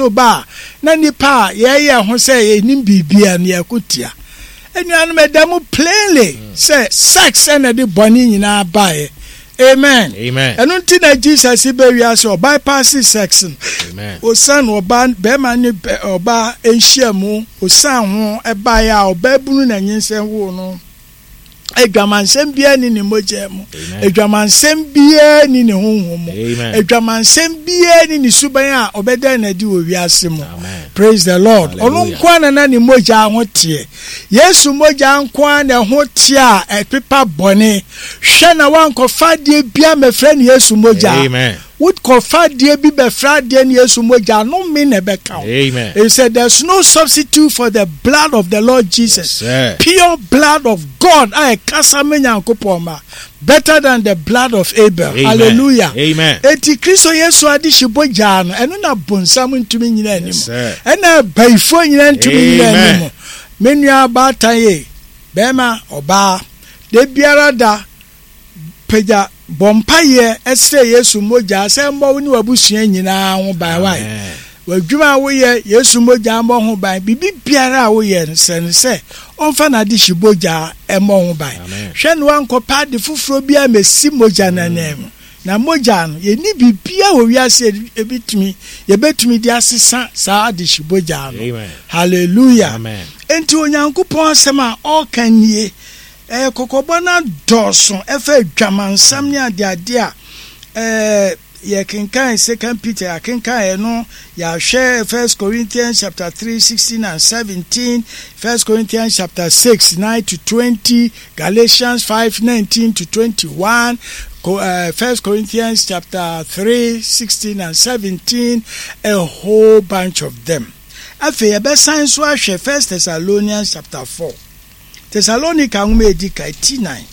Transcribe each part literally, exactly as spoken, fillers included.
so ba a, na nipa a yɛyɛ ho sɛ yɛnim biribia no, yɛko tia. Anuanom, ɛda mu plainly sɛ sex ɛna de bɔne nyinaa baeɛ. Amen. Amen. Ɛno nti na Jesus bɛ wiase, ɔbypass sex no. Amen. Osan ɔbaa, bɛrima ne bɛ- ɔbaa nhyia mu, osan ho ɛbaeɛ a, ɔbaa bunu na nyinsɛn woo no. Adwamansɛm biara ni ne mogya mu. Amen. Adwamansɛm biara ni ne honhom mu. Amen. Adwamansɛm biara ni ne suban a ɔbɛda n'adi wɔ wiase mu. Amen. Praise the Lord. Ɔno Hallelujah. nko ara na na ne mogya ho teɛ. Yesu mogya nko ara na ɛho teɛ a ɛpepa bɔne. Hwɛ na wankɔfa adeɛ bia mɛfrɛ no Yesu mogya. Amen. Wokɔfa adeɛ bi bɛfrɛ adeɛ no Yesu mogya no, me na ɛbɛka wo. Amen. He said there's no substitute for the blood of the Lord Jesus. Yes, sir. Pure blood of God a ɛkasa me Nyankopɔn ma. Better than the blood of Abel. Amen. Hallelujah. Amen. Eti Kristo Yesu ade hye bogyaa no, ɛno na bonsam ntumi nyina anim. Yes, sir. Ɛna abayifoɔ nyina ntumi nyina Amen. anim. Me nua baatan ye, bɛrima, ɔbaa, da biara da pagya bɔ mpayɛ ɛsrɛ Yesu mogya sɛ mmɔ wo ne w'abusua nyinaa ho ban wae. Amen. W'adwuma a woyɛ, Yesu mogya mmɔ ho ban. Biribi biara a woyɛ no, sɛ no sɛ ɔmfa n'ade hye bogya ɛmmɔ ho ban. Amen. Hwɛ no wankɔpɛ ade foforɔ bi a mɛsi mogya no anan mu. Na mogya no, yɛnni biribiara wɔ wiase a ebitumi yɛbɛtumi de asesa saa ade hye bogya no. Amen. Hallelujah. Amen. Enti Onyankopɔn asɛm a ɔreka nie. Ɛyɛ kɔkɔbɔ no adɔɔso ɛfa adwamansɛm ne adeade a ɛɛ yɛkenkan Second Peter, yɛakenkan ɛno, yɛahwɛ First Corinthians chapter three sixteen and seventeen, First Corinthians chapter six nine to twenty, Galatians five nineteen to twenty-one, Co- uh, First Corinthians chapter three sixteen and seventeen, a whole bunch of them. Afei yɛbɛsan so ahwɛ First Thessalonians chapter four. Thessalonica nwoma edi kan ti nine.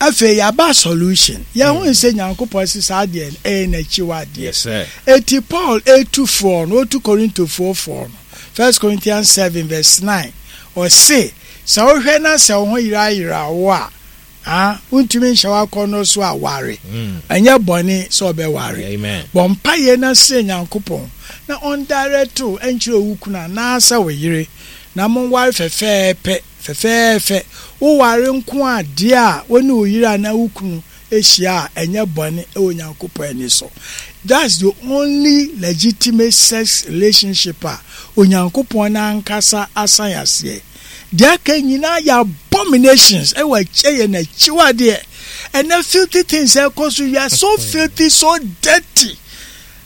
Afei yɛaba solution. Yɛho sɛ Nyankopɔn se saa deɛ no ɛyɛ n'akyiwadeɛ. Yes, sir. Eti Paul etu foɔ no, otu Korintofoɔ foɔ no. First Corinthians seven verse nine. Ɔse, sɛ wohwɛ na sɛ wo ho yerayera wo a, ah, wontumi nhyɛ w'akɔnnɔ so a, ware. Mm. Ɛnyɛ bɔne sɛ ɔbɛware. Amen. Bɔ mpayɛ na srɛ Nyankopɔn na ɔndirect wo ɛnkyerɛ wo kunu anaasɛ wo yere na monware fɛfɛɛpɛ fɛfɛɛfɛ. Woware nko adeɛ a wo ne wo yere anaa wo kunu ahyia a, ɛnyɛ bɔne ɛwɔ Nyankopɔn ani so. That's the only legitimate sex relationship a Onyankopɔn n'ankasa asan aseɛ. Deɛ aka nyinaa yɛ abominations, ɛwɔ ɛyɛ n'akyiwadeɛ. Ɛnɛ filthy things ɛkɔ so, we are so filthy, so dirty.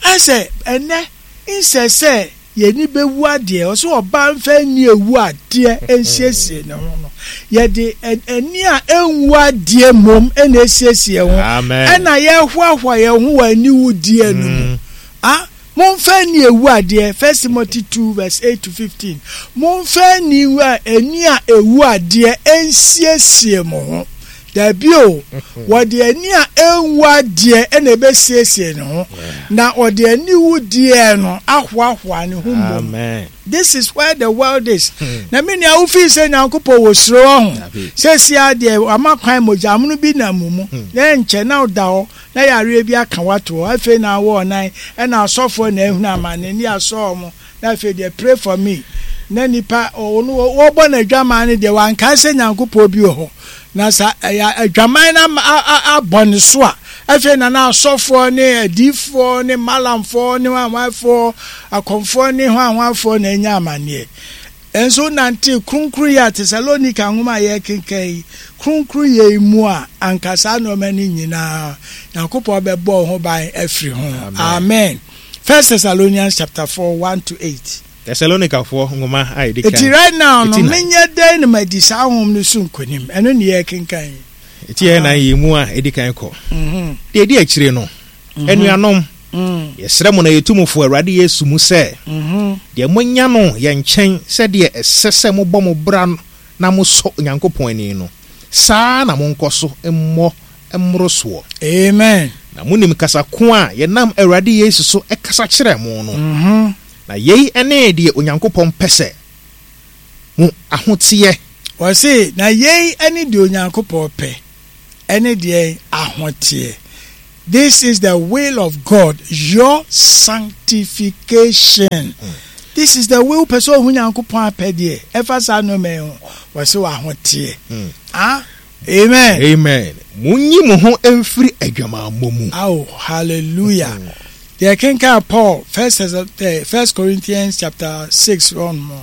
Ɛsɛ ɛnɛ nsɛ sɛ yɛni bɛwu adeɛ, ɔsɛ ɔbaa mfa ni ewu adeɛ nsiesie ne ho no, yɛde ani a ɛnwu adeɛ mmom ɛna esiesie ho. Amen. Ɛna yɛhoahoa yɛn ho wɔ aniwudeɛ no mu. Ah, momfa ni ewu adeɛ, First Timothy two verse eight to fifteen, momfa ni ani a ewu adeɛ nsiesie mo ho. Dabi o, wɔde ani a ɛnwu adeɛ ɛna ɛbɛsiesie ne ho na wɔde aniwudeɛ no ahoahoa ne ho mmom. Amen. This is where the world is. Na me nua, wofii sɛ Nyankopɔn wɔ suro wɔ ho. Dabi. Sɛsi adeɛ ama kwan mogya amono bi nam mu mu na nkyɛ na woda hɔ na yareɛ bi aka wato hɔ. Afei na awɔ ɔnan ɛna asɔfoɔ na ehunu amane ne asɔɔ mo na afei deɛ, "Pray for me," na nipa ɔno wɔbɔ n'adwaman no deɛ, wankae sɛ Nyankopɔn bi wɔ hɔ. Na sa ɛyɛ adwaman no ama- a- a- abɔ ne so a, afei na na asɔfoɔ ne adiifoɔ ne malamfoɔ ne hwanhwanfoɔ, akɔmfoɔ ne hwanhwanfoɔ na anya amanneɛ. Nso nante kronkron yi a Tesalonika nwoma a yɛkenkan yi, kronkron yɛ yi mu a, anka saa nneɛma no nyinaa Nyankopɔn bɛbɔ wo ho ban afiri ho. Amen. First Thessalonians chapter four one to eight. Thessalonicafoɔ nwoma a ɛdi kan. Eti right now no, Eti nnan. menyɛ dɛn na madi saa honhom no so nkonim? Ɛno ne yɛkenkan yi. Eti yɛ nan yi mu a ɛdi kan kɔ. Mhm. Deɛ ɛdi akyire no, anuanom, Mm. yɛsrɛ mo na yɛtu mo fo Awurade Yesu mu sɛ, Mhm. deɛ moanya no yɛn nkyɛn sɛdeɛ ɛsɛ sɛ mobɔ mo bra na mosɔ Onyankopɔn ani no, saa na monkɔ so mmɔ mmoro soɔ. Amen. Na monim kasa ko a yɛnam Awurade Yesu so ɛkasa kyerɛ mo no. Mhm. Na yei ne deɛ Onyankopɔn pɛ, sɛ mo ahoteɛ. Wɔse na yei ne deɛ Onyankopɔn pɛ, ɛne deɛ ahoteɛ. This is the will of God, your sanctification. Mm. This is the will. Pɛ sɛ ohun Nyankopɔn apɛdeɛ ɛfa saa nneɛma yi ho, wɔsi wɔ ahoteɛ. Ah, amen. Amen. Munyi mo ho mfiri adwamammɔ mu. Oh, hallelujah. Deɛ kenkan Paul first eh, First Corinthians chapter six run mu no,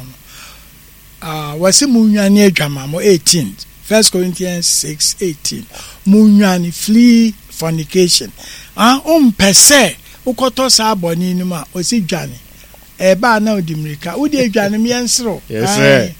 ah, wɔsi munnwane adwamammɔ eighteen. First Corinthians six eighteen. Munnwane, flee fornication. Ah, wompɛ sɛ wokɔtɔ saa bɔne no mu a, wɔsi dwane. Ɛbaa na ɔdi mmirika. Wode adwane mu yɛnserew. Yes, sir.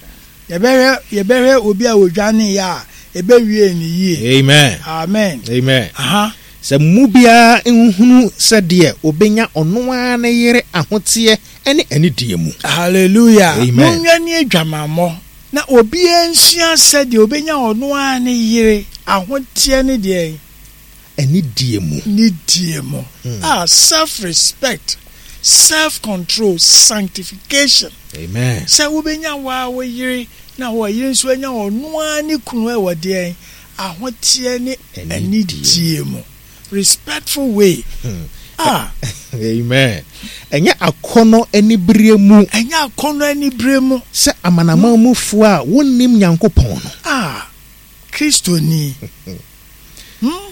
Yɛbɛhwɛ yɛbɛhwɛ obi a wɔdwane yɛ a ɛbɛwie ne yie. Amen. Amen. Amen. Aha. Sɛ mu biara nhunu sɛdeɛ obenya ɔno ara ne yere ahoteɛ ne anidie mu. Hallelujah. Amen. Munnwane adwamammɔ na obiara nsua sɛdeɛ obenya ɔno ara ne yere ahoteɛ ne deɛ Anidie mu. Ne die mu. Ah, self-respect, self-control, sanctification. Amen. Sɛ wobɛnya waa wo yere na wɔ yere nso anya ɔno ara ne kunu ɛwɔ deɛ ahoteɛ ne anidie mu. Respectful way. Ah. Amen. Ɛnyɛ akɔnɔ anibere mu. Ɛnyɛ akɔnɔ anibere mu. Sɛ amanaman mufoɔ a wonnim Nyankopɔn no. Ah, Kristoni. Hmm?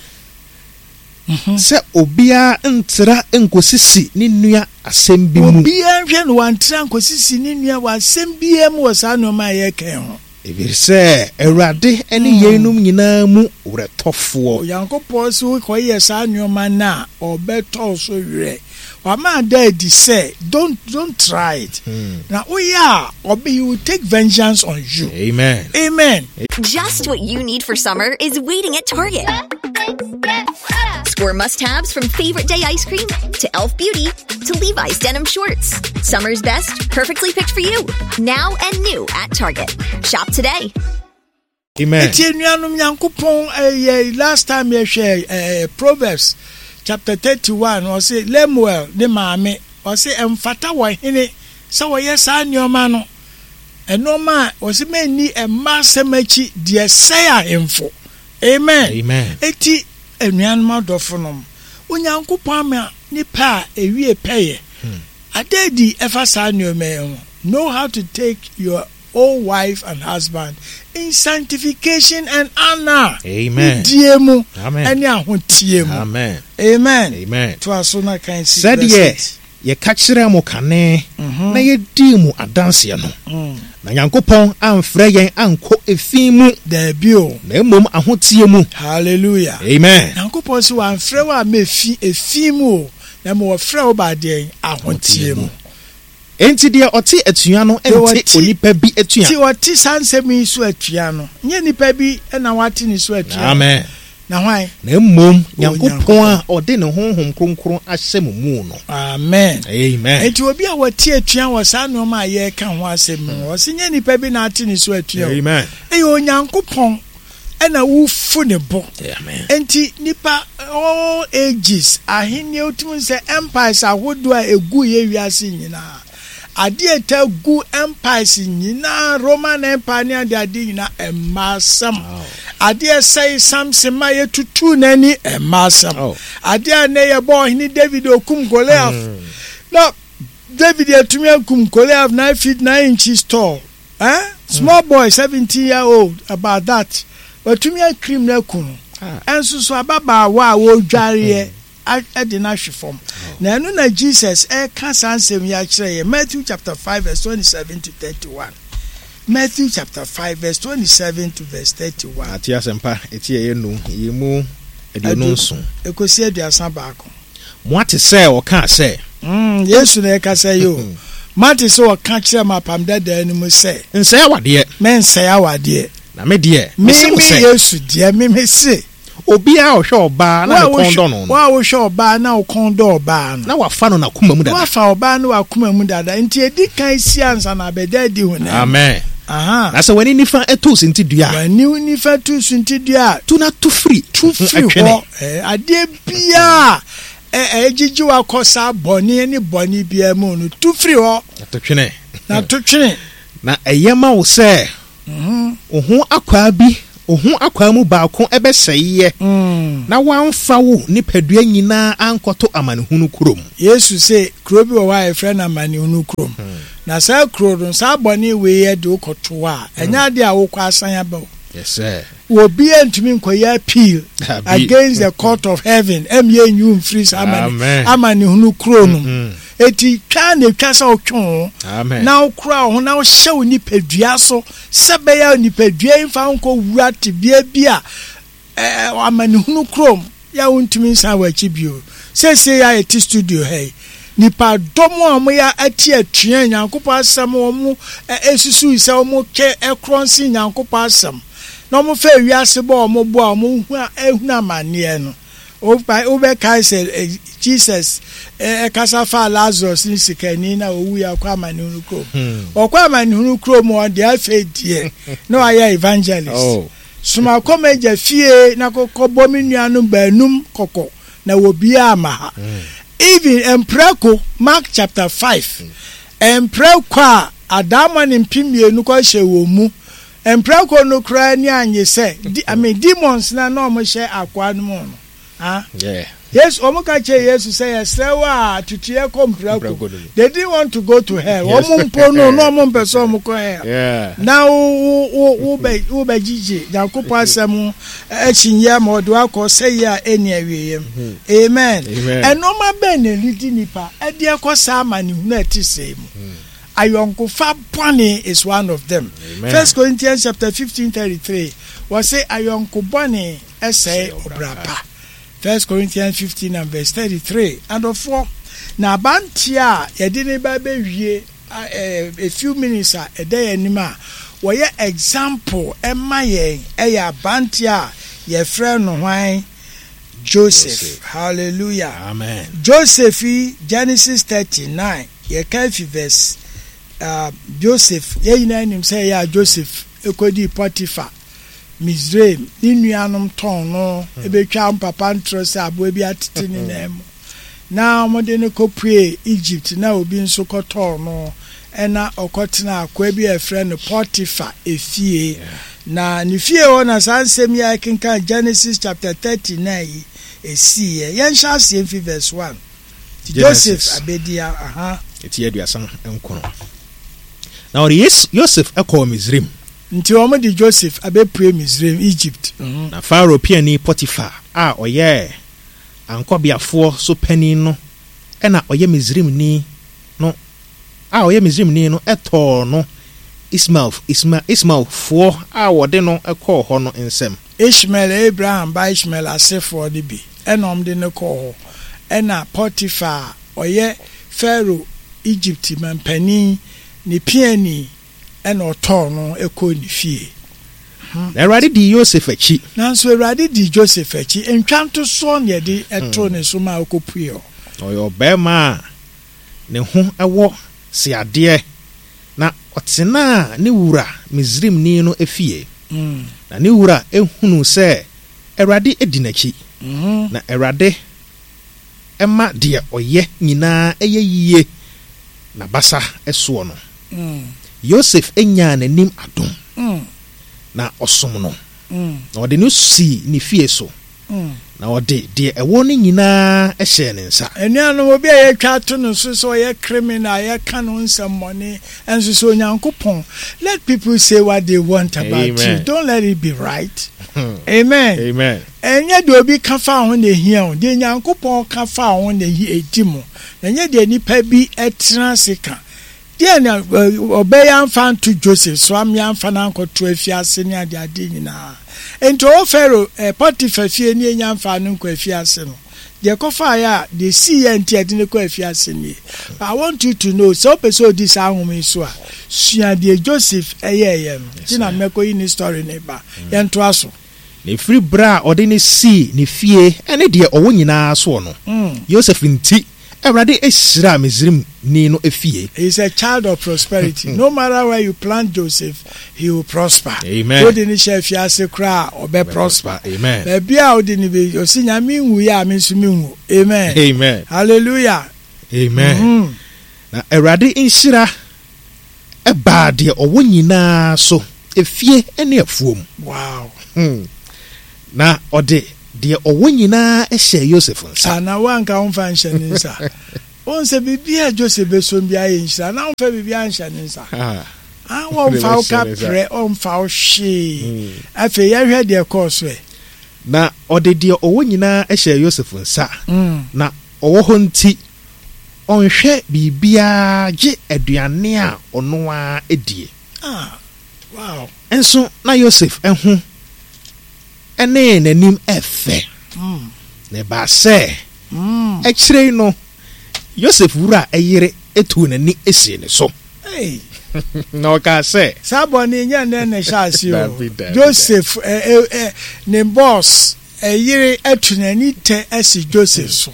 Sɛ obiara ntra nkosisi ne nua asɛm bi mu. Obiara nhwɛ no wantra nkosisi ne nua wɔ asɛm biara mu wɔ saa nneɛma a yɛka ho. Ɛfiri sɛ Awurade ne yeinom nyinaa mu werɛtɔfoɔ. Onyankopɔn sɛ wokɔyɛ saa nneɛma no a, ɔbɛtɔ so werɛ. Wama ada adi sɛ don't don't try it. Na woyɛ a, ɔbɛ he will take vengeance on you. Amen. Amen. Just what you need for summer is waiting at Target. Score must-haves from Favorite Day ice cream to Elf Beauty to Levi's denim shorts. Summer's best, perfectly picked for you. Now and new at Target. Shop today. Amen. Eti enuanom Nyankopɔn eh, last time yɛhwɛ eh, Proverbs chapter thirty-one, ɔse Lemuel ne maame, ɔse ɛmfata wɔ hene sɛ wɔyɛ saa nneɛma no. Ɛnneɛma a ɔse mɛnni mma asɛm akyi deɛ sɛe ahemfo. Amen. Amen. Eti enuanom adɔfo nom, Onyankopɔn ama nipa a ewie pɛyɛ. Ada adi ɛfa saa nneɛma yi ho. Know how to take your own wife and husband in sanctification and honor. Amen. Die mu. Amen. Ɛne ahotie mu. Amen. Amen. Amen. To aso na kan si. Sɛdeɛ yɛka kyerɛ mo kane na yɛdii mu adanseɛ no. Na Nyankopɔn amfrɛ yɛn ankɔ efi mu. Daabi o. Na mmom ahotie mu. Hallelujah. Amen. Nyankopɔn sɛ wamfrɛ wo amma efi efi mu o. Na mmom wɔfrɛ wo ba deɛn ahotie mu. Enti deɛ ɔte atua no nte onipa bi atua. Ti ɔte saa nsɛm yi so atua no, nyɛ nipa bi na wate ne so atua. Amen. Na hwan? Na mmom Nyankopɔn a ɔde ne honhom kronkron ahyɛ mo mu no. Amen. Amen. Enti obi a wɔte atua wɔ saa nneɛma a yɛreka ho asɛm mu, ɔse nyɛ nipa bi na ate ne so atua. Amen. Ɛyɛ Onyankopɔn ɛna wofu ne bo. Amen. Enti nipa all ages ahenni otumi sɛ empires ahodoɔ a egu yɛ wiase nyinaa. Adeɛ ta gu empires nyinaa, Roman Empire ne ade ade nyinaa ɛmma asɛm. Adeɛ sɛe Samson ma yɛtutu n'ani ɛmma asɛm. Adeɛ a ne yɛbɔ ɔhene David okum Goliath. Na David atumi akum Goliath nine feet nine inches tall. Eh? Small boy, seventeen year old, about that. Watumi akirim na aku no. Ɛnso so ababaawa a wɔredwareɛ ɛde no ahwe fam. Na ɛno na Jesus ɛka saa nsɛm yi akyerɛ yɛ Matthew chapter five verse twenty-seven to thirty-one. Matthew chapter five verse twenty-seven to verse thirty-one. Ati asɛmpa eti ɛyɛ num yi mu aduonu nson. Ekosi aduasa baako. Mo ate sɛ ɔka sɛ. Mm, Yesu na ɛka sɛ yo. Mate sɛ ɔka kyerɛ ma apam dada no mu sɛ. Nsɛe awadeɛ. Mɛnsɛe awadeɛ. Na me deɛ. Me me Yesu deɛ me me se. Obiara ɔhwɛ ɔbaa na ne kɔn dɔ no. Wa wohwɛ ɔbaa na wo kɔn dɔ ɔbaa no. Na wafa no n'akoma mu dada. Wafa ɔbaa no w'akoma mu dada. Nti edi kan si ansa na abɛda adi ho na. Amen. Aha. Na sɛ w'ani nifa to suntidua. W'ani nifa to suntidua. Tu na tu firi. Tu firi hɔ. Adeɛ biara ɛgyegye wakɔ saa bɔne ne bɔne biara mu no tu firi hɔ. Na to twene. Na to twene. Na ɛyɛ ma wo sɛ. Wo ho akwaa bi Wo ho akwaa mu baako ɛbɛsɛeɛ Mm. na woamfa wo nipadua nyinaa ankɔto amanehunu kurom. Yesu sɛ kuro bi wɔ hɔ a yɛfrɛ no amanehunu kurom. Na saa kuro no, saa bɔne wei yɛ de wokɔto hɔ a, ɛnyɛ adeɛ a wokɔ asan aba o. Yes, sir. Obiara ntumi nkɔyɛ appeal Dabi. against the court of heaven ɛmi enyu nfiri saa amane Amen. amanehunu kuro no mu. Eti twa na etwa sɛ ɔtwe ho Amen. na wokura wo ho na wohyɛ wo nipadua so sɛ bɛyɛ nipadua yi mfa nkɔ wura tebea bi a ɛɛ amanehunu kurom yɛ a wontumi nsan wɔ akyi bio. Seesei a yɛte studio ha yi, nipa dɔm a wɔyɛ ate atua Nyankopɔn asɛm, wɔn esusu sɛ wɔn kɛ ɛkorɔ nse Nyankopɔn asɛm na wɔn fɛ wiase bɔ wɔn bo a wɔn hu ehunu amanneɛ no, wobɛkae sɛ eh, Jesus ɛkasa fa Lazarus ne sikani na owu yɛ ɔkɔ amanehunu kurom. Ɔkɔ amanehunu kurom, ɔde afei deɛ na wayɛ evangelist. Oh. Soma kɔm agya fie na kɔkɔ bɔ me nuanom baanum kɔkɔ na wɔbiaa ama ha. Even mprako, Mark chapter five, mprako a adaama ne mpem mmienu kɔhyɛ wɔ mu, mprako no koraa ni anye sɛ di, I mean, demons na na ɔmo hyɛ akoa no mu no, ah. Yeah. Yesu, ɔmo ka kyerɛ Yesu sɛ yɛsrɛ wo a tutu yɛ kɔ mprako. Mprako no mu. They didn't want to go to hell. Yes. Ɔmo mpo no na ɔmo mpɛ sɛ ɔmo kɔ hell. Yeah. Na wo wo wo wo bɛ wo bɛ gyigye Nyankopɔn asɛm akyinyɛ ma ɔde wakɔ sɛyi a ɛni awieɛ mu. Amen. Amen. Ɛnɔɔma bɛn na ɛredi nipa ɛde ɛkɔ saa amanehunu a ɛte sɛɛ mu? Ayɔnkofa bɔne is one of them. Amen. First Corinthians chapter fifteen thirty three, wɔsɛ ayɔnko bɔne ɛsɛe ɔbra pa. First Corinthians fifteen and verse thirty three. Adɔfoɔ, na abanteɛ a yɛde ne ba bɛwie a ɛɛ a few minutes a ɛda yɛn anim a wɔyɛ example ɛma yɛn, ɛyɛ abanteɛ a yɛfrɛ no hwan? Joseph. Joseph. Hallelujah. Amen. Joseph yi, Genesis thirty nine, yɛka fi verse uh, Joseph, yɛn nyinaa nim sɛ ɛyɛ a Joseph ekɔdii Potiphar, Misraim, ne nuanom tɔn no, ebetwa mpapa ntorɔ sɛ aboa bi atete ne nan mu na wɔde no kɔpue Egypt, na obi nso kɔtɔɔ no, ɛna ɔkɔtena akoa bi a yɛfrɛ no Potiphar efie. Na ne fie hɔ na saa nsɛm yi a ɛkenkan Genesis chapter thirty nine yi esiiɛ. Yɛnhyɛ aseɛ mfi verse one. Joseph Genesis. abedia aha. Ɛti aduasa nkron. Na ɔde Yes- Yosef ɛkɔɔ Misrim. Nti wɔn de Joseph abɛpue Misraim, Egypt. Mhm. Na Farao piani Potiphar a ɔyɛ ankɔbeafoɔ so panin no ɛna ɔyɛ Misrimni no a ɔyɛ Misrimni no ɛtɔɔ no Ismael Isma Ismaelfoɔ a wɔde no ɛkɔɔ hɔ no nsam. Ishmael, Abraham ba Ishmael asefoɔ no bi ɛna wɔn de no kɔɔ hɔ, ɛna Potiphar a ɔyɛ Pharaoh Egypt mampanin ne piani ɛna ɔtɔɔ no ɛkɔɔ ne fie. Na Awurade dii Yosef akyi. Nanso Awurade di Joseph akyi. Ntwa ntosoɔ na yɛde ɛtoo ne so ma ɔkɔpue hɔ. Na ɔyɛ ɔbarima a ne ho ɛwɔ seadeɛ, na ɔtenaa ne wura Misrimni no efie. Mm. Na ne wura ehunu sɛ Awurade edi n'akyi, Mhm. na Awurade ɛma deɛ ɔyɛ nyinaa ɛyɛ yie n'abasa ɛsoɔ no. Mm. Yosef enyaa n'anim adom, Mm. na ɔsom no, Mm. na ɔde no sii ne fie so, Mm. na ɔde deɛ ɛwɔ no nyinaa ɛhyɛɛ ne nsa. Anuanom, obi a yɛtwa ato no so sɛ ɔyɛ criminal, yɛka no nsɛmmɔne, ɛnso sɛ Onyankopɔn, let people say what they want about you, Amen. don't let it be right. Amen. Amen. Ɛnyɛ deɛ obi ka fa ho na ehia o, deɛ Nyankopɔn ka fa ho na ehi edi mu, na ɛnyɛ deɛ nipa bi ɛtena ase ka. Deɛ na ɛ, ɔbɛyɛ amfa nto Joseph so ame amfa no ankɔto afiase ne adeade nyinaa. Nti ɔwɔ Pharaoh ɛ Potiphar fie ne enya mfa no nkɔ afiase no, deɛ kɔfaeɛ a deɛ sii yɛ nti ɛde ne kɔ afiase nie. But I want you to know sɛ wopɛ sɛ odi saa ahoma yi so a, sua deɛ Joseph ɛyɛɛyɛ no. Nti na mmɛkɔ yi ne story ne ba. Yɛntoa so. Na ɛfiri berɛ a ɔde ne sii ne fie ɛne deɛ ɔwɔ nyinaa soɔ no, Mm. Yosef nti Awurade ahyira Misrimni no efie. He is a child of prosperity. No matter where you plant Joseph, he will prosper. Amen. Wode ne hyɛ afiase koraa a, ɔbɛ prosper. Amen. Baabi a wode ne bɛ, ɔsi Nyame nwu yɛ a, me nso me nwu. Amen. Amen. Hallelujah. Amen. Mhm. Na Awurade nhyira ɛbaa deɛ ɔwɔ nyinaa so, efie ne afuom. Wow. Hmm. Na ɔde deɛ ɔwɔ nyinaa hyɛɛ Yosef nsa. Ah, na woanka womfa nhyɛ ne nsa. Wohu sɛ biribi a Joseph bɛsom biara yɛ nhyira, na womfa biribiara nhyɛ ne nsa. Ah. Ah, wɔmfa wo ka prɛ, ɔmfa wo hwee. Afei yɛhwɛ deɛ ɛkɔɔ so ɛ. Na ɔde deɛ ɔwɔ nyinaa hyɛɛ Yosef nsa. Mm. Na ɔwɔ hɔ nti, ɔnhwɛ biribiara gye aduane a ɔno ara die. Ah, wow. Nso na Yosef ho ne n'anim ɛfɛ. Mm. Na ɛbaa sɛ, Mm. akyire yi no, Yosef wura yere tuu n'ani sii ne so. Hey. Na ɔkaa sɛ, Saa bɔne nyɛ nnɛ na ɛhyɛ ase o. Dabi, dabi, Joseph ɛ, ɛ, ɛ, ne boss ɛyere atu n'ani tɛ asi Joseph so.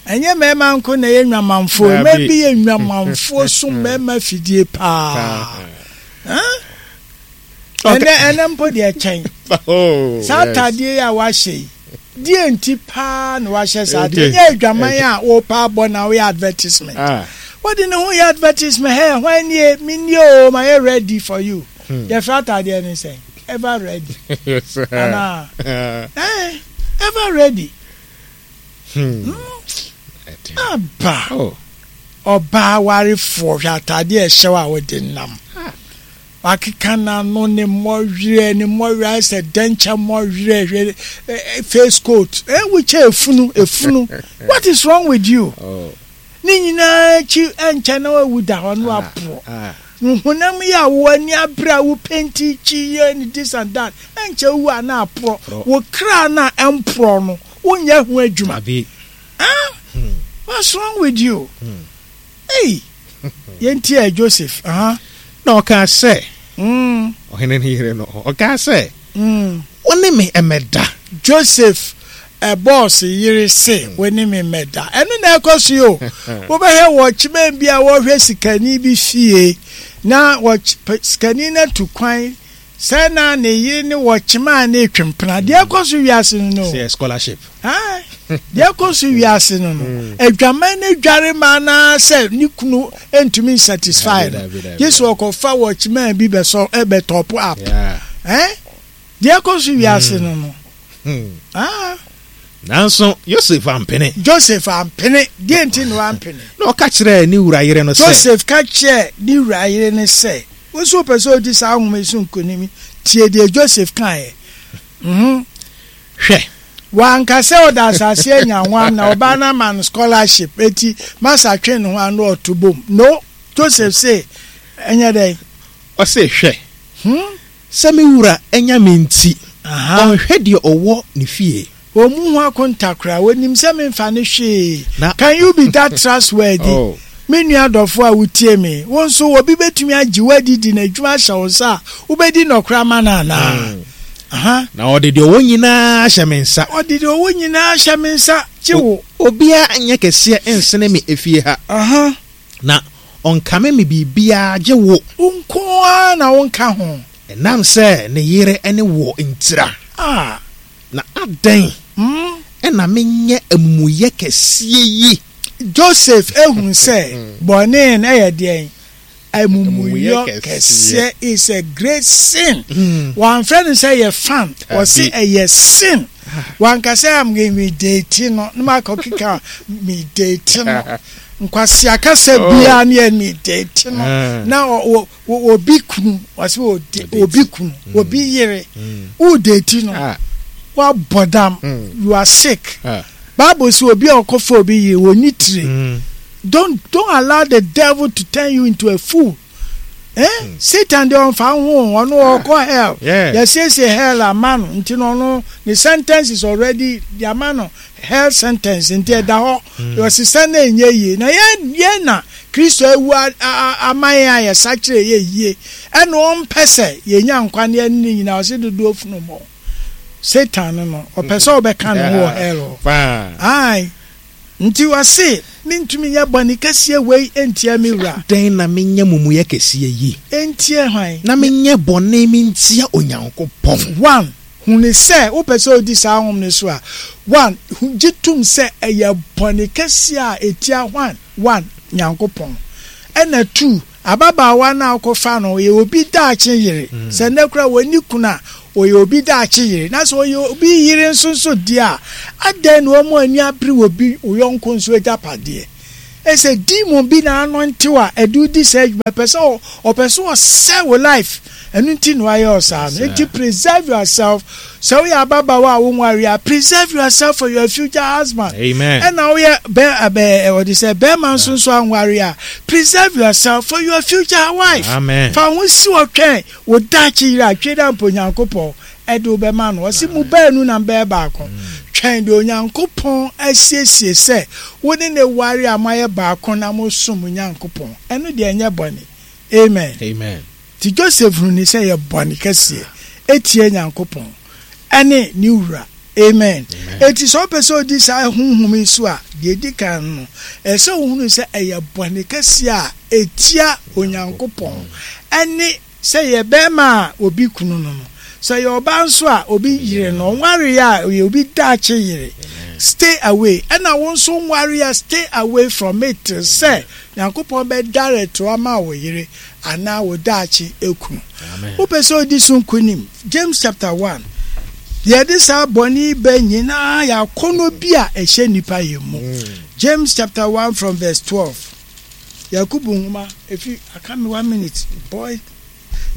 Ɛnyɛ mmarima nko na ɛyɛ nnwamanfoɔ. Dabi. Mmaa bi yɛ nnwamanfoɔ so mmarima fidie paa. Huh? Ɛnɛ ɛnɛ mpo deɛ kyɛn. Oh, Saa yes. ataadeɛ yi a wahyɛ yi, deɛ nti paa na wahyɛ saa Ɛdeɛ- adeɛ. Nyɛ adwaman a wɔpa abɔ na woyɛ advertisement. Ah. Wɔde ne ho yɛ advertisement. Hey, hwan nie? Me nie o, ma yɛ ready for you. Hmm. Yɛfrɛ ataadeɛ ne sɛn? Ever ready. Yes. Anaa? Ah. Eh, ever ready. Hmm. Aba. Oh. Ɔbaa warefoɔ hwɛ ataadeɛ a ɛhyɛ wo a wɔde nam. Wakeka n'ano ne mmɔwerɛ ne mmɔwerɛ ayɛ sɛ dɛnkyɛ mmɔwerɛ hwɛ eh, eh, face coat. Eh, wokyɛ efunu efunu. What is wrong with you? Oh. Ne nyinaa akyi ɛnkyɛ na wawu da hɔ no aporɔ. Ah. Honam yi a wo ani abere a wo penti kyi yɛ ne this and that ɛnkyɛ wu a na aporɔ. Porɔ. Wo kra na ɛmporɔ no wonyɛ ho adwuma. Dabi. Ah, what's wrong with you? Hey, yɛnti ɛ Joseph. Uh-huh. Na ɔkaa sɛ, Mm, ɔhene ne yere no, ɔkaa sɛ, mm. wo ne me mmɛda. Joseph ɛ boss yere se wo ne me mmɛda. Ɛno na ɛkɔ so yi o. Wobɛhwɛ wɔkyemɛn bi a wɔhwɛ sikani bi fie na wɔky- p- sikani no atu kwan sɛ na ne yere ne wɔkyema a ne etwempena. Deɛ ɛkɔ so wiase no no. Sɛ scholarship. Ah, deɛ ɛkɔ so wiase no no adwaman no dware ma anaasɛ ne kunu ntumi nsatisfy no Dabi, dabi, dabi, gye sɛ ɔkɔfa wɔkyema bi bɛsɔ ɛbɛtop up. Yeah. Eh? Deɛ ɛkɔ so wiase no no. Hmm. Ah, Nanso Yosef ampene. Joseph ampene. Deɛ nti na wampene? Na ɔka kyerɛɛ ne wura yere no sɛ, Joseph ka kyerɛɛ ne wura yere no sɛ, wo nso wopɛ sɛ odi saa nhoma yi so nkonim, tie deɛ Joseph kaeɛ. Mhm. Hwɛ, Wanka sɛ ɔda asase anya nwam na ɔbaa no ama no scholarship eti masa twe ne ho ano ɔto bom. No, Joseph se ɛnyɛ dɛn. Ɔse, hwɛ, Hmm? sɛ me wura anya me nti, Aha. ɔnhwɛ deɛ ɔwɔ ne fie. Wɔn mu ho akonta koraa wɔnim sɛ memfa ne hwee. Na- Can you be that trustworthy? Oh. Me nua dɔfo a wotie me, wo nso obi bɛtumi agye woadidi na adwuma ahyɛ wo nsa a wobɛdi nɔkora ma no anaa? Aha. Na ɔde deɛ ɔwɔ nyinaa hyɛ me nsa. Ɔde deɛ ɔwɔ nyinaa hyɛ me nsa gye wo. Obiara nyɛ kɛseɛ nsene me efie ha. Aha. Na ɔnkame me biribiara gye wo. Wo nko ara na wonka ho. Ɛnam sɛ ne yere ne wɔ ntira. Ah. Na adɛn Mm. ɛna menyɛ amumuyɛ kɛseɛ yi? Joseph ehun sɛ bɔne no ɛyɛ deɛn? Amumuyɔ Amumuyɛ kɛseɛ is a great sin. Mm. Wɔamfrɛ no sɛ yɛ fan, wɔse Dabi. ɛyɛ sin. Wanka sɛ am me date no, na makɔ keka me date no. Nkwasi akasa Oh. biara ne yɛ me date no. Ah. Na ɔ- ɔ- ɔ- obi kunu, wɔse ɔde- Ɔdate. obi kunu, obi yere, wo date no, Ah. wabɔ dam, Mm. you are sick. Ah. Bible sɛ obi a ɔkɔfa obi yere, wɔnni tire. Mm. Don't don't allow the devil to turn you into a fool. Eh? Satan deɛ ɔnfa ho, ɔno ɔkɔ hell. Yeah. Yɛsiesie hell ama no nti no ɔno ne sentence is already de ama no hell sentence nti ɛda hɔ. Ɔsesa na ɛnyɛ yie. Na yɛn yɛn na Kristo awu a- a- a- ama yɛn a yɛsakyerɛ yɛ yie. Ɛna ɔmpɛ sɛ yɛnya nkwa ne yɛne ne nyinaa ɔse dodoɔ funu mɔ. Satan no no ɔpɛ sɛ ɔbɛka ne ho wɔ hell hɔ. Paa. Ae. Nti wɔse mentumi nyɛ bɔne kɛseɛ wei ntia me wura. Dɛn na menyɛ amumuyɛ kɛseɛ yi? Ntia hwan? Na menyɛ bɔne mentia Onyankopɔn. One, hunu sɛ wopɛ sɛ odi saa honhom no so a, one, hu- gye tom sɛ ɛyɛ bɔne kɛseɛ a ɛtia hwan? One, Nyankopɔn. Ɛna two, ababaawa no a wokɔfa no ɔyɛ obi daakye yere. Sɛ nnɛ koraa wɔnni kunu a, Ɔyɛ obi daakye yere. Na sɛ ɔyɛ obi yere nso nso deɛ a, adɛn na wɔn ani abere wɔ bi wo yɔnko nso agyapadeɛ? Ɛsɛ demon bi na anɔntew a ɛde wo di saa adwuma, pɛ sɛ ɔpɛ sɛ ɔsɛ wo life. Ɛno nti na wayɛ ɔsaa no. Nti preserve yourself. Sɛ woyɛ ababaawa a wonware a, preserve yourself for your future husband. Amen. Ɛna woyɛ bɛ ɛbɛ ɔde sɛ bɛrima nso nso anware a, preserve yourself for your future wife. Amen. Fa ho si ɔtwɛn wo daakye yere a twe dɛ mpo Onyankopɔn ɛde wo bɛma no. Ɔsi mu baanu na mbɛyɛ baako. Twɛn de Onyankopɔn asiesie sɛ wo ne ne ware a moayɛ baako na mosom Onyankopɔn. Ɛno deɛ ɛnyɛ bɔne. Amen. Amen. Nti Joseph hunu sɛ yɛ bɔne kɛseɛ etie Nyankopɔn ɛne ne wura. Amen. Eti sɛ ɔpɛ sɛ odi saa honhom yi so a, deɛ edi kan no, ɛsɛ ohunu sɛ ɛyɛ bɔne kɛseɛ a etia Onyankopɔn ɛne sɛ yɛ bɛrima a obi kunu no no. Sɛ yɛ ɔbaa nso a obi yere no, ɔnware a ɔyɛ obi daakye yere. Stay away. Ɛna wo nso nware a, stay away from it sɛ Nyankopɔn bɛ direct wo ama wo yere anaa wo daakye ekunu. Wopɛ sɛ odi so nkonim. James chapter one. Deɛ ɛde saa bɔne yi bɛ nyinaa yɛ akɔnnɔ bi a ɛhyɛ nipa yɛn mu. James chapter one from verse twelve. Yakubu nwoma efi aka me one minute boy.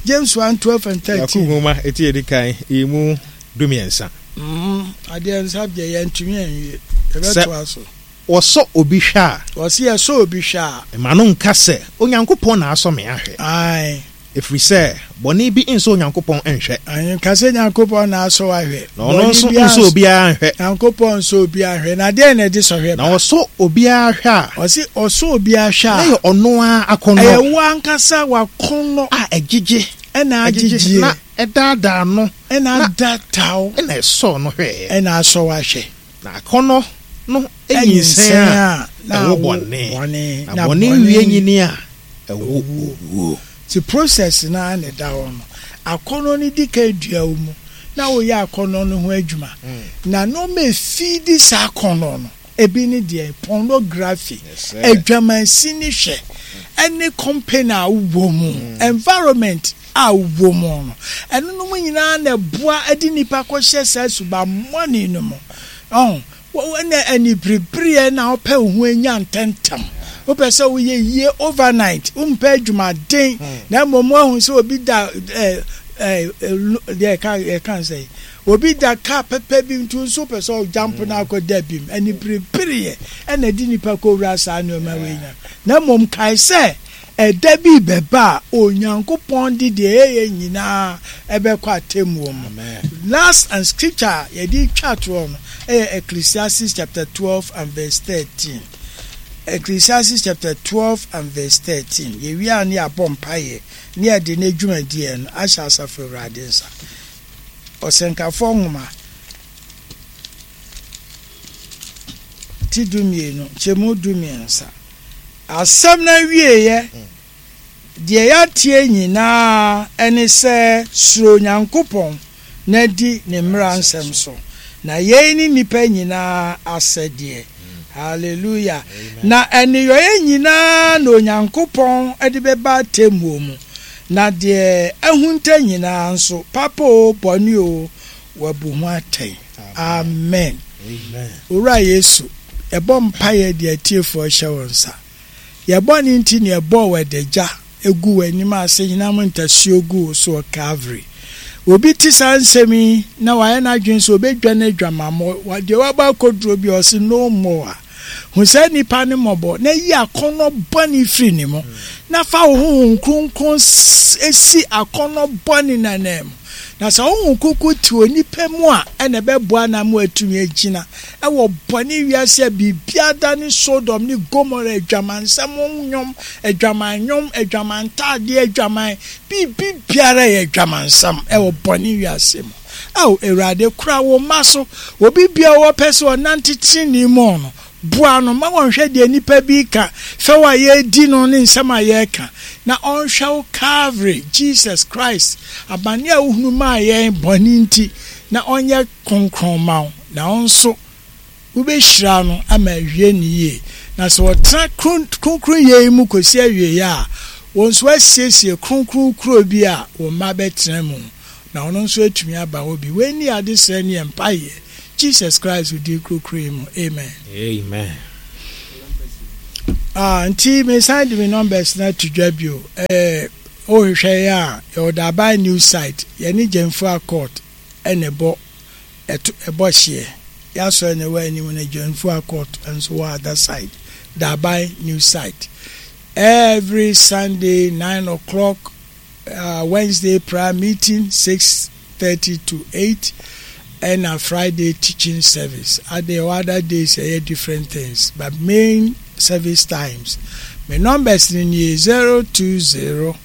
James one twelve and thirteen. Yakubu nwoma eti edi kan emu dumiɛnsa. Mm, adeɛ nsa deɛ yɛntumi anwie. Yɛbɛtoa so. Wɔsɔ obi hwɛ a. Wɔsi yɛsɔ obi hwɛ a. Ma no nka sɛ Onyankopɔn na asɔ me ahwɛ. Ae. Ɛfiri sɛ bɔne bi nsɔ Onyankopɔn nhwɛ. Ae, nka sɛ Nyankopɔn na asɔ ahwɛ. Na ɔno nso nsɔ obiara nhwɛ. Nyankopɔn nsɔ obiara nhwɛ. Na deɛ na ɛde sɔhwɛ ba? Na ɔsɔ obiara hwɛ a. Ɔsi ɔsɔ obiara hwɛ a. Na yɛ ɔno ara akɔnnɔ. Ɛyɛ wo ankasa w'akɔnnɔ. A ɛgyegye. Ɛna agyegye. Na ɛdaadaa no. Ɛna adaadaa. Ɛna ɛsɔ no hwɛ. Ɛna asɔ w'ahwɛ. Na akɔnnɔ no enyinsɛn a ɛwo bɔne. Na bɔne wie nyini a ɛwo owuo. Ti process na ne da hɔ no, akɔnnɔ no di kan dua wo mu na woyɛ akɔnnɔ no ho adwuma. Na nneɛma efidi saa akɔnnɔ no, ebi ne deɛ pornography, adwamansi ne hwɛ, ɛne company a wowɔ mu, environment a wowɔ mu no, ɛno nom nyinaa na ɛboa ɛde nipa kɔhyɛ saa subammɔne no mu. Ɔn, ɛna aniberebereɛ na wopɛ wo ho anya ntɛntɛm. Wopɛ sɛ woyɛ yie overnight, wompɛ adwumaden, na mmom woahu sɛ obi da ɛɛ ɛɛ deɛ ɛka ɛka sɛ obi da kaa pɛpɛ bi nti nso wopɛ sɛ ɔjump na akɔ da bi mu. Aniberebereɛ ɛna ɛde nipa kɔwura saa nneɛma wei nyinaa. Na mmom kae sɛ ɛda bi bɛba a Onyankopɔn de deɛ ɛyɛ nyinaa ɛbɛkɔ atemmuo mu. Last and scripture a yɛde twa toɔ no ɛyɛ Ecclesiastes chapter twelve and verse thirteen. Ecclesiastes chapter twelve and verse thirteen. Yɛwie a ne yɛabɔ mpaeɛ ne yɛde ne dwumadie no ahyɛ asafo Awurade nsa. Ɔsɛnkafoɔ nwoma ti du mmienu nkyɛmu du mmiɛnsa. Asɛm no awieeɛ, deɛ yɛatie nyinaa ɛne sɛ suro Nyankopɔn na di ne mmara nsɛm so. Na yei ne nnipa nyinaa asɛdeɛ. Hallelujah. Na ɛneyɔeɛ nyinaa na Onyankopɔn de bɛba atemmuo mu. Na deɛ ahunta nyinaa nso, papa o, bɔne o, wabu ho atɛn. Amen. Owura Yesu, yɛbɔ mpaeɛ deɛ atiefoɔ hyɛ wɔn nsa. Yɛbɔ ne nti ne yɛbɔɔ wɔ adagya egu w'anim ase hinam ntasuo gu wo so wɔ Calvary. Obi te saa nsɛm yi na wayɛ n'adwene sɛ obɛdwa n'adwamammɔ, deɛ wabɔ akɔduro bi ɔse no more. Hu saa nipa ne mmɔbɔ na yi akɔnnɔ bɔne firi ne mu, na fa wo honhom kronkron esi akɔnnɔ bɔne n'anan mu. Na sɛ honhom kronkron te onipa mu a, ɛna ɛbɛboa na ama watumi agyina ɛwɔ bɔne wiase a biribiara da ne Sodom ne Gomora, adwamansɛm nnwom, adwaman nnwom, adwaman ntaadeɛ, adwaman biribi biara yɛ adwamansɛm ɛwɔ bɔne wiase mu. Ao Awurade, kora wo mma so. Obi biara wɔpɛ sɛ ɔnante tenenee mu no, boa no ma wɔnhwɛ deɛ nipa bi ka, fɛw a yɛredi no ne nsɛm a yɛreka, na ɔnhwɛ wo Calvary, Jesus Christ, abane a wohunu maa yɛn bɔne nti, na ɔnyɛ kronkron ma wo, na ɔnso wobɛhyira no ama awie ne yie. Na sɛ ɔtena kronkron yie mu kɔsi awieeɛ a, wɔn nso asiesie kronkron kuro bi a wɔn mma bɛtena mu. Na ɔno nso atumi aba hɔ bi. Wei ni ade srɛ ne yɛ mpaeɛ. Jesus Christ wo krokro yi mu. Amen. Amen. Ah, nti mesan de me numbers na to dwa bio. Eh, wohwehwɛ yɛ a, yɛwɔ Daban new site. Yɛne Gyamfua Court ɛna ɛbɔ ɛto ɛbɔ hyeɛ. Yɛasɔre na ɛwɔ anim no, Gyamfua Court nso wɔ other side. Daban new site. Every Sunday nine o'clock, uh, Wednesday prayer meeting six thirty to eight, ɛna Friday teaching service. Ade other days ɛyɛ different things, but main service times. My numbers ni nie: zero two zero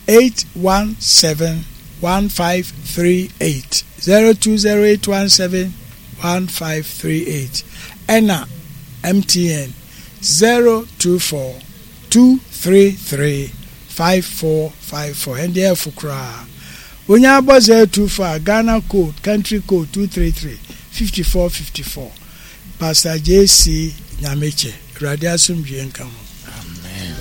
eight one seven one five three eight, zero two zero eight one seven one five three eight, ɛna M T N zero two four two three three five four five four. Ɛnde ɛfo koraa onye abɔ zero two four, Ghana code, country code two three three fifty four fifty four. Pastor J C Nyamekyɛ, Awurade asomdwie nka mo.